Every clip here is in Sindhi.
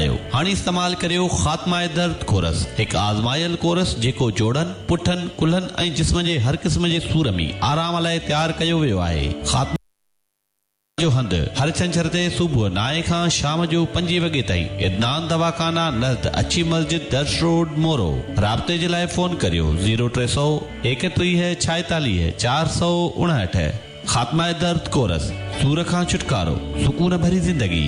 آهيو؟ هاڻي استعمال ڪريو خاتمه درد ڪورس، هڪ آزمايل ڪورس جيڪو جوڙن، پٺن، ڪلهن ۽ جسم جي هر قسم جي سور ۾ آرام لاء تيار ڪيو ويو آهي. خاتمه جو هنڌ، هر ڇنڇر تي صبح نائين کان شام جو پنجين وڳي تائين، عدنان دواخانا نزد اڇي مسجد درس روڊ مورو. رابطي جي لاء فون ڪريو زيرو ٽي سؤ ايڪٽيهه ڇائيتاليهه 459. خاتمه درد ڪورس، سور کان ڇوٽڪارو، سڪون ڀري زندگي.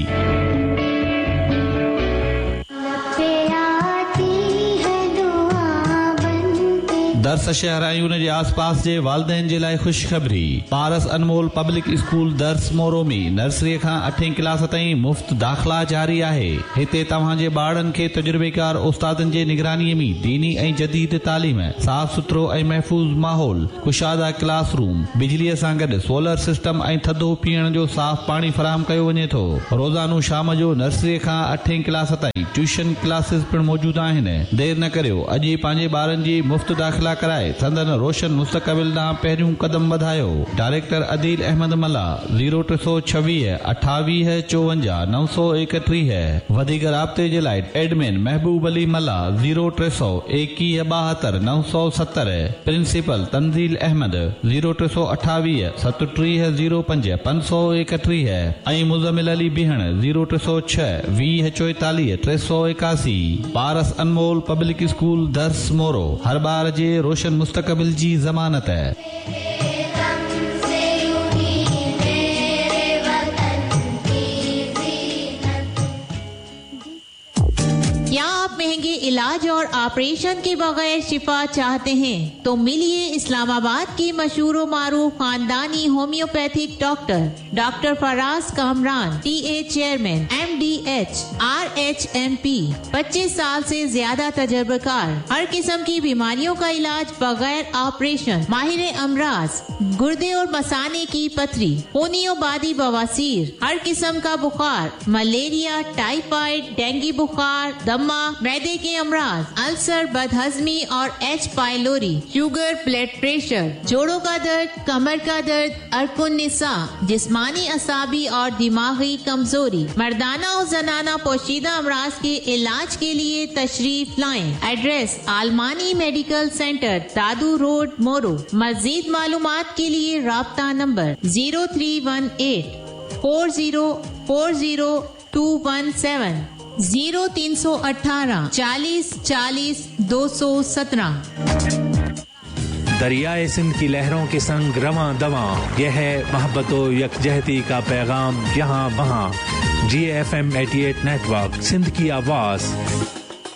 درس شهر ۽ ان جي آس پاس جي والدين جي لاء خوشخبري، پارس انمول پبلڪ اسڪول درس مورو ۾ نرسري کان اٺين ڪلاس تائين مفت داخلا جاري آهي. هتي توهان جي ٻارڙن کي تجربيڪار استادن جي نگراني ۾ ديني ۽ جديد تعليم، صاف سٿرو ۽ محفوظ ماحول، ڪشاده ڪلاس روم، بجليء سان گڏ سولر سسٽم ۽ ٿڌو پيئڻ جو صاف پاڻي فراهم ڪيو وڃي ٿو. روزانو شام جو نرسريء کان اٺين ڪلاس تائين ٽيوشن ڪلاسز پڻ موجود آهن. دير نه ڪريو، اڄ ئي پنهنجي ٻارن جي مفت داخلا ڪرائي سندن روشن مستقبل ڏانهن پهريون قدم وڌايو. Director Adeel Ahmed Mallah, zero 326، 28، 54، 931. وڌيڪ رابطي جي لاء admin Mehboob Ali Mallah, zero 321، 72، 970. Principal Tanzeel Ahmed, zero 328، 37، 05، 531 ۽ Muzammil Ali Behan, zero 306، 20، 44، 381. پارس انمول پبلڪ اسڪول درس مورو، هر ٻار جي روشن مستقبل جي ضمانت. क्या आप महंगे इलाज और ऑपरेशन के बगैर शिफा चाहते हैं तो मिलिए इस्लामाबाद के मशहूर मारूफ खानदानी homeopathic doctor doctor Faraz Kamran, T A chairman, M D H, R H M P, 25 साल से ज्यादा तजर्बेकार, हर किस्म की बीमारियों का इलाज बगैर ऑपरेशन, माहिर अमराज, गुर्दे और मसाने की पथरी, खूनी और बादी बवासीर, हर किस्म का बुखार, मलेरिया, टाइफाइड, डेंगू बुखार, दमा, मैदे के अमराज, अल्सर, बदहजमी और H pylori, sugar, blood pressure, जोड़ों का दर्द, कमर का दर्द, अर्कुन निसा, जिस्मानी असाबी और दिमागी कमजोरी, मर्दाना और जनाना पोशीदा अमराज के इलाज के लिए तशरीफ लाएं। एड्रेस आलमानी मेडिकल सेंटर, दादू रोड, मोरो। मजीद मालूमात के लिए राब्ता नंबर 0318 4040217, 0318 40 40 217। दरियाए सिंध की लहरों के संग रवां दवां, यह है मोहब्बत यकजहती का पैगाम यहाँ वहाँ। जी एफ एम 88 नेटवर्क, सिंध की आवाज।